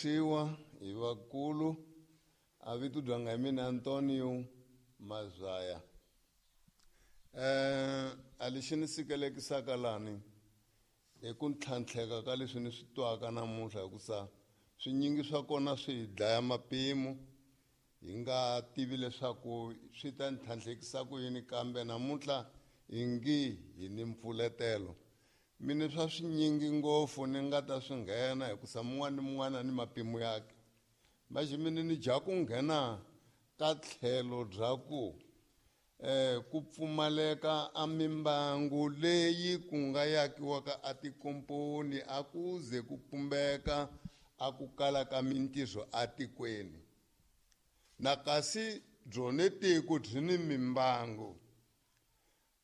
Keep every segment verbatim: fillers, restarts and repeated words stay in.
Siwa hi vakulu a vito dyanga hi mina Antonio Mazaya. Eh a lexi ni sikelekisaka lani hi ku ntlhantlheka ka leswi ni swi twaka namuntlha hikusa swinyingi swa kona swi hi dlaya mapimo hi nga tivi leswaku swi ta ntlhantlhekisa ku yini kambe namuntlha hi ngi hi ni mpfuletelo. Mina swa swinyingi ngopfu ni nga ta swi nghena hikusa mun'wana ni mun'wana ni mapimo yakhe. Manje mina ni dya ku nghena ka tlhelo bya ku eh ku pfumaleka a mimbangu leyi ku nga yakiwaka a tikomponi a ku ze ku pumbeka a ku kala ka mintirho atikweni. Na kasi byone tiko byi ni mimbangu.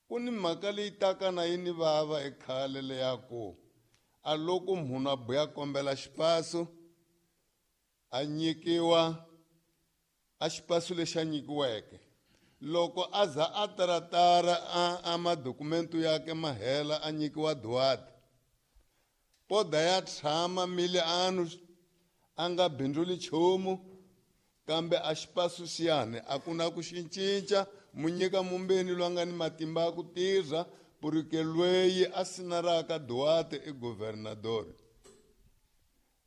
Ku ni mhaka leyi taka na yi ni vava ekhale leya ku a loko munhu a buya kombela xipaso a nyikiwa a xipaso lexi a nyikiweke loko a za a taratara a, a madokumento yakhe ma hela a nyikiwa duwati poda ya tshama mile anu a nga bindzuli nchumu kambe a xipaso xiyani a ku na ku xi cinca mu nyika mumbeni loyi a nga ni matimba ya ku tirha purike lweyi a sinaraka duwati i governador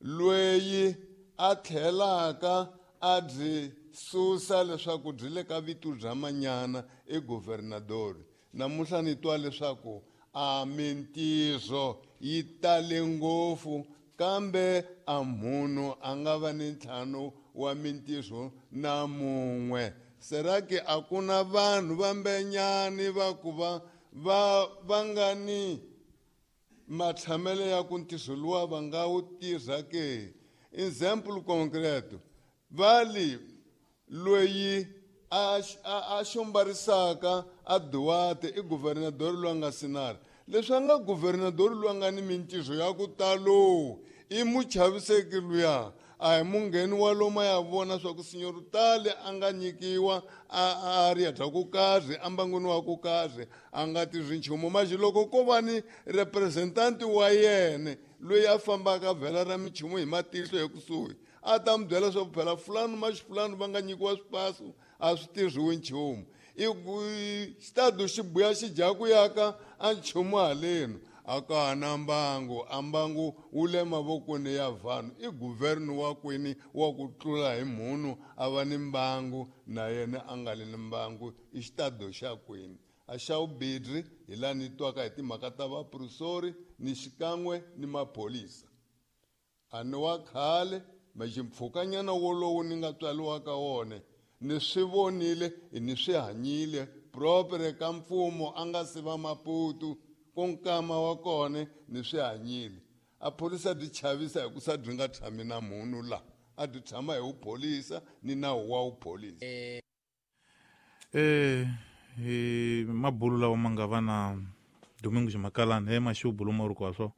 lweyi a tlhelaka a byi susa leswaku byi le ka vito bya manyana i governador. Namuntlha ni twa leswaku a mintirho yi tale ngopfu kambe a munhu a nga va ni ntlhanu wa mintirho na mun'we. Será que a ku na vanhu vambenyani va ku va va va nga ni matshamelo ya ku ntirho luwa va nga wu tirha ke? Exemplo concreto, vali loyi a a xombarisaka a duwate i governador loyi a nga sinara. Leswi a nga governador loyi a nga ni mintirho ya ku talo i muchaviseki luya a hi mungheni wa loma ya vona swa ku senhor tale a nga nyikiwa a a ri ya dya ku karhi ambangwini wa ku karhi a nga tirhi nchumu. Manje loko ko va ni representanti wa yena loyi a fambaka vhela ra minchumu hi matihlo ekusuhi a ta mi byela swa ku phela fulani maxifulani va nga nyikiwa swipaso a swi tirhiwi nchumu. I xitado xi buya xi dya ku yaka a nchumu halenu a ka ha na mbangu a mbangu wu le mavokweni ya vanhu i guvernu wa kwini wa ku tlula hi munhu a va ni mbangu na yena a nga li ni mbangu i xitado xa kwini. A xa vubirhi hi laha ni twaka hi timhaka ta vaprofesori ni xikan'we ni maphorisa. A ni wa khale maximpfhukanyana wolowo ni nga tswariwa ka wona ni swi vonile ni swi hanyile propre ka mfumo a nga si va Maputo ku nkama wa kona ni swi hanyile. A phorisa byi chavisa hi ku sa byi nga tshami na munhu la a byi tshama hi vupholisa ni nawu wa vupholisa. Eh hi mabulu lawa ma nga va na Domingos Makalani he maxubu lomu ri kwa swo.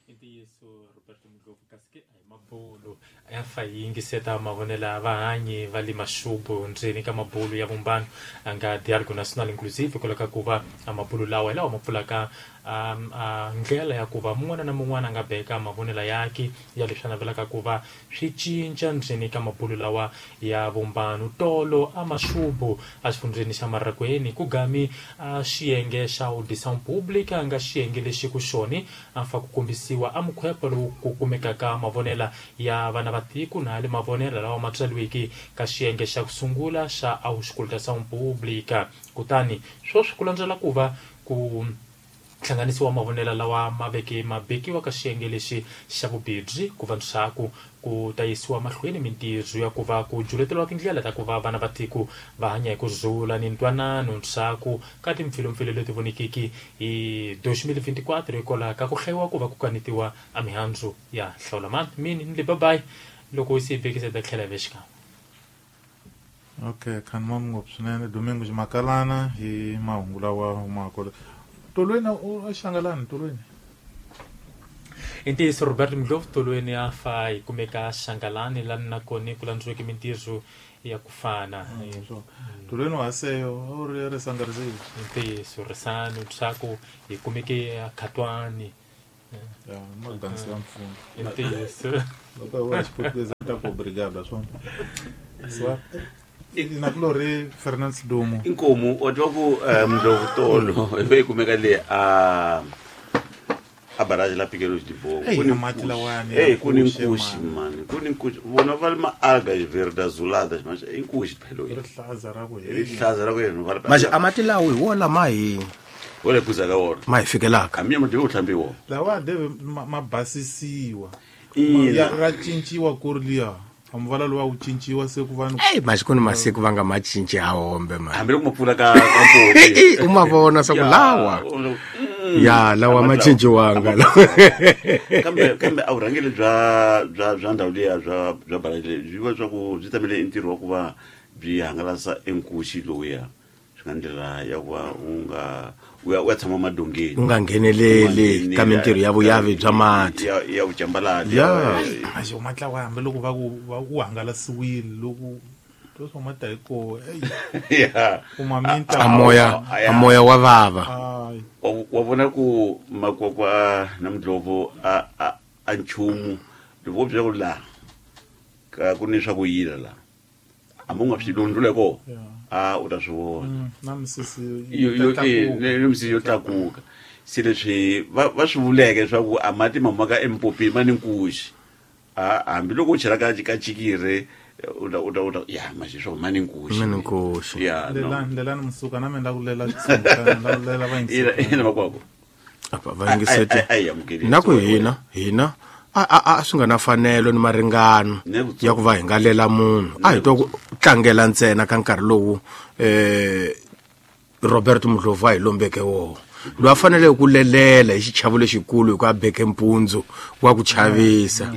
I ntiyiso Roberto Ndlovu kasi ke a hi mabulu ya fa yi yingiseta mavonelo ya vahanyi va le maxubu ndzeni ka mabulu ya vumbano a nga Dialogue National Inclusive hikwalaho ka ku va a mabulu lawa hi lawa ma pfulaka um, a ndlela ya ku va mun'wana na mun'wana a nga beka mavonelo yakhe ya leswi a navelaka ku va swi cinca ndzeni ka mabulu lawa ya vumbano. Tolo a maxubu a xifundzeni xa Maragweni ku gami a xiyenge xa Audição Pública a nga xiyenge lexi ku xoni a fa ku kombisiwa a mukhwepo lowu ku kumekaka mavonela ya vana va tiko na le mavonela lawa ma tswariweke ka xiyenge xa ku sungula xa Auscultação Pública. Kutani sweswi ku landzela ku va ku hlanganisiwa mavonelo lawa ma veke ma bekiwa ka xiyenge lexi xa vubirhi ku va ndzhaku ku ta yisiwa mahlweni mintirho ya ku va ku juleteriwa tindlela ta ku va vana va tiko va hanya hi ku rhula ni ntwanano ndzhaku ka timpfilumpfilu leti vonekiki hi twenty twenty-four hikwalaho ka ku hlayiwa ku va ku kanetiwa a mihandzu ya hlawulamani. Mini ni le babayi loko se yi bekisa ta tlhela hi ve xikan'we. Okay, khanima ngopfu swinene Domingos Makalana hi mahungu lawa humaka. Tolweni u xangalani tolweni. I ntiyiso Robert Ndlovu tolweni a fa hi kumeka xangalani lani nakona ku landziweke mintirho ya ku fana. Tolweni wa seyo u ri ri sangarisile. I ntiyiso risani leswaku hi kumeke khatwani. Ya, madansi ya mfumo. I ntiyiso. Loko wa xiputukezi. Ta ku obrigado swona. Swa nakulori Fernand Sidumo. Inkomu wa twa ku Mdlovu tolo ive yi kumeka le a a barrage la Piqueros de Bogo. Ku ni mati lawani. Eh ku ni nkuxi mani, ku ni nkuxi. Vona va ma algas verde azuladas, mas i nkuxi phela. Rihlaza ra ku hela. Rihlaza ra ku hela va. Mas a mati lawa hi wona ma hi wona kuza ka wona. Ma hi fikelaka. A mi ma deve hlambi wona. Lawa deve ma basisiwa. Ya ra cinciwa ku ri liya. Amvala lowa wu cinciwa se ku vanhu. Ey mas ku ni masiku va nga ma cinci ha hombe man. Hambi loko ma pfula ka ka mpopi. U ma vona swa ku lawa. Ya lawa ma cinciwanga. Kambe kambe a vurhangeri bya bya bya ndhawu liya bya bya barrage byi va swa ku byi tamele ntirho wa ku va byi hangalasa enkuxi lowuya. Swi nga ndlela ya ku va u nga u ya u ya tshama madongeni. U nga ngheneleli ka mintirho ya vuyavi bya mati. Ya ya vucambalati. Ya. Axi matla wa hambi loko va ku va u hangalasiwile loko to swa mata hi ko. Ya. U ma minta a moya a moya wa vava. Wa vona ku makwakwa na Mdlovu a a a nchumu loko bya ku la ka ku ni swa ku yila la. Hambi u nga swi londlule ko. A u ta swi vona. Na misisi yo yo misisi yo tlakuka. Se leswi va va swi vuleke leswaku a mati ma humaka empopini ma ni nkuxi. A hambi loko u chela ka ka chikiri u ta u ta u ta ya manje swo ma ni nkuxi. Ma ni nkuxi. Ya. Lela lela msuka na mina ku lela xisungana la lela va yingiseti. Ina makwako. Apa va yingiseti. Ai amukeli. Na ku hina hina a a a swi nga na fanelo ni maringano ya ku va hi nga lela munhu. A hi twa ku tlangela ntsena ka nkarhi lowu eh Robert Mdlovu a hi lombeke wona. Loyi a fanele ku lelela hi xichavo lexikulu hi ku a beke mpundzu wa ku chavisa.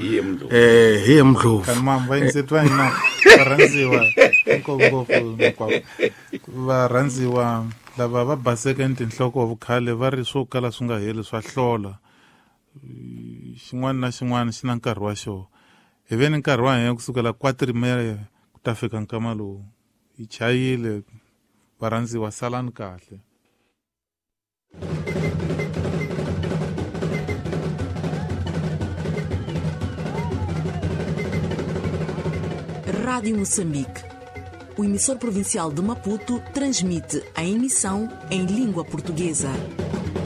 Eh hi Mdlovu. Kan mam va yingiseti va hina va rhandziwa ngopfu hinkwavo. Va rhandziwa lava va baseke ni tinhloko vukhale va ri swo kala swi nga heli swa hlola. Xin'wana na xin'wana xi na nkarhi wa xona. Hi ve ni nkarhi wa hina kusukela quatro e meia ku ta fika nkama lowu. Hi chayile varhandziwa salani kahle. Rádio Moçambique. O emissor provincial de Maputo transmite a emissão em língua portuguesa.